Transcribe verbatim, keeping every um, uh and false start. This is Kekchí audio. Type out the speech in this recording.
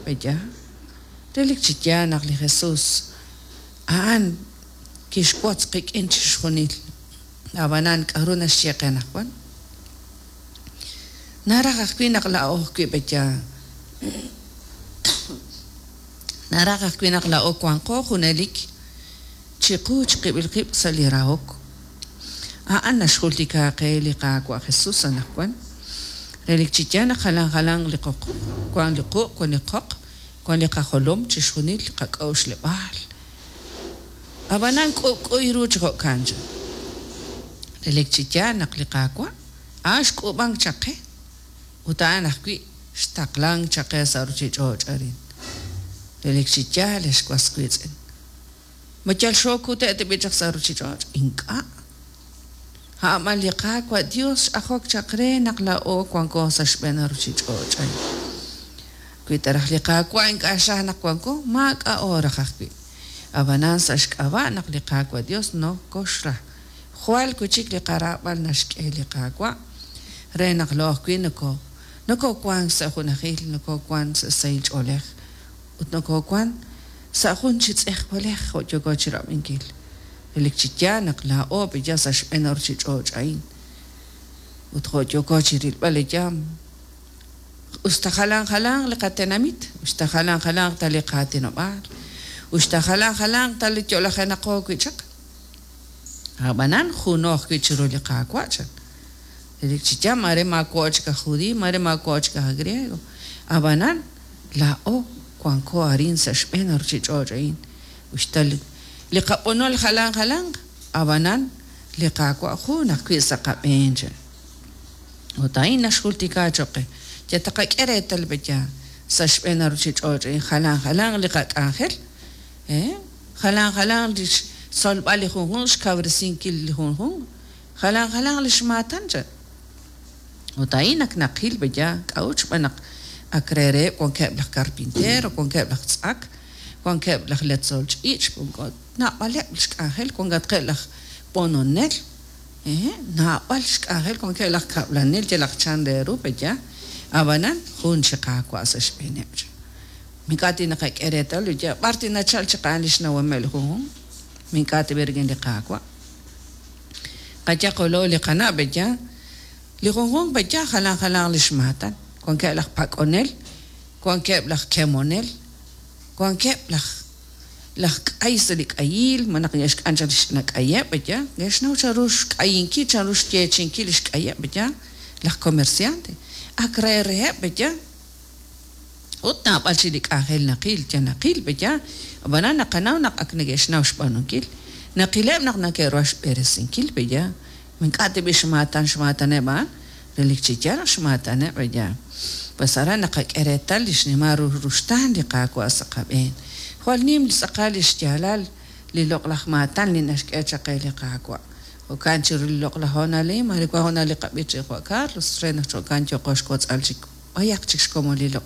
Pe'yaal? Relik chi yaal naq li Jesús a'an kixwotz qik'in chixjunil. Ab'anan k'aru naxye qe anaqwan? Naraj ajwi' naq laa'o ajwi' pe'yaal? Naraj ajwi' naq laa'o wanqo junelik chiqu chiqib'il qib' sa' li rahok. A'an naxjultika qe li Qaawa' Jesús anaqwan. Relik chi yaal naq jalan jalanq li qoq, wank li quq', wank li qoq, wank li qajolom, chixjunil li qak'a'uxleb'aal. Ab'anan k'ub'k'u ru chi jo'kan chan. Relik chi yaal naq li Qaawa' a'an xk'uub'ank chaq qe ut a'an ajwi' xtaqlank chaq qe sa' ruuchich'och' arin. Relik chi yaal, ex was wiitz'in. Ma yal xookute' tab'i' chaq sa' ruuchich'och'? Ink'a'. A'an li Qaawa' Dios x'ajok chaq re naq laa'o wanko sa' xb'een ruuchich'och' a'in. Wi ta raj li Qaawa' ink'a' xraj naq wanko, maak'a'o raj ajwi'. Ab'anan sa' xk'ab'a' naq li Qaawa' Dios nokoxra. Jwal wi' chik li qaraab'al naxk'e li Qaawa' re naq laa'o ajwi' noko nokowank sa' junajil, nokowank sa' sahil ch'oolej ut nokowank sa' jun chi tz'ejwalej jo' yooko chi rab'inkil. Relik chi yaal naq laa'o pe'yaal sa' xb'een ruuchich'och' a'in. Ut jo' yooko chi rilb'al li yaam, usta jalan jalanq li qatenamit, usta jalan jalanq ta li qaatinob'aal, usta jalan jalanq ta li yo'lajenaqo wi' chaq. Ab'anan juno ajwi' chiru li Qaawa' chan. Relik chi yaal mare maawa' chik aj judiiy, mare maawa' chik aj griego. Ab'anan laa'o wanko arin sa' xb'een ruuchich'och' a'in. Usta li li qab'onol jalan jalanq, ab'anan li Qaawa' jun ajwi' sa' qab'een chan. Ut a'in naxjultika choq' qe. Ya taqak'e reetal pe'yaal sa' xb'een ruuchich'och' a'in jalan jalanq li qak'anjel, eh? Jalan jalanq li xtzolb'al li junjunq, xkawresinkil li junjunq, jalan jalanq li xmaatan chan. Ut a'in ak naqil pe'yaal k'a'ut xb'aan naq ak re reheb' wankeb' laj carpintero, wankeb' laj tz'ak, wankeb' laj letzol ch'iich', naab'aleb' li xk'anjel, wankatqeb' laj b'ononel, eh? Naab'al xk'anjel, wankeb' laj kab'lanel yalaq chan re ru pe'yaal. Ab'anan jun chi Qaawa' sa' xb'eeneb' chan. Ink'a' tinaqak'e reetal pe'yaal b'ar tinachal chaq a'an li xnawomeb' li junjunq, ink'a' tib'i rik'in li Qaawa'. Qayaqolo li qana' pe'yaal, li junjunq pe'yaal jalan jalanq li xmaatan. Wankeb' laj pak'onel, wankeb' laj kemonel, wankeb' laj laj k'ay sa' li k'ayil, ma naq neke'xk'an chaq li xnak'ayeb' pe'yaal, neke'xnaw chanru xk'ayinkil, chanru xyeechi'inkil li xk'ayeb' pe'yaal, laj comerciante. Ak re reheb' pe'yaal. Ut naab'al chi li k'anjel naqil, ya naqil pe'yaal, ab'anan naqanaw naq ak neke'xnaw xb'aanunkil. Naqileb' naq neke'ruha xb'eresinkil pe'yaal. Ink'a' tib'i xmaatan xmaataneb' a'an, relik chi yaal naq xmaataneb' pe'yaal. Pues aran naqak'e reetal li xnimal ru ruxtaan li Qaawa' sa' qab'een. Jwal nim li tz'aqal li xyaalal li loq'laj maatan li naxk'e chaq qe li Qaawa'. Jo'kan chiru li loq'laj hoonal a'in, mare wan hoonal li qab'ich Juan Carlos, re naq jo'kan yooqo xwotz'al chik b'ayaq chik xkomon li loq'laj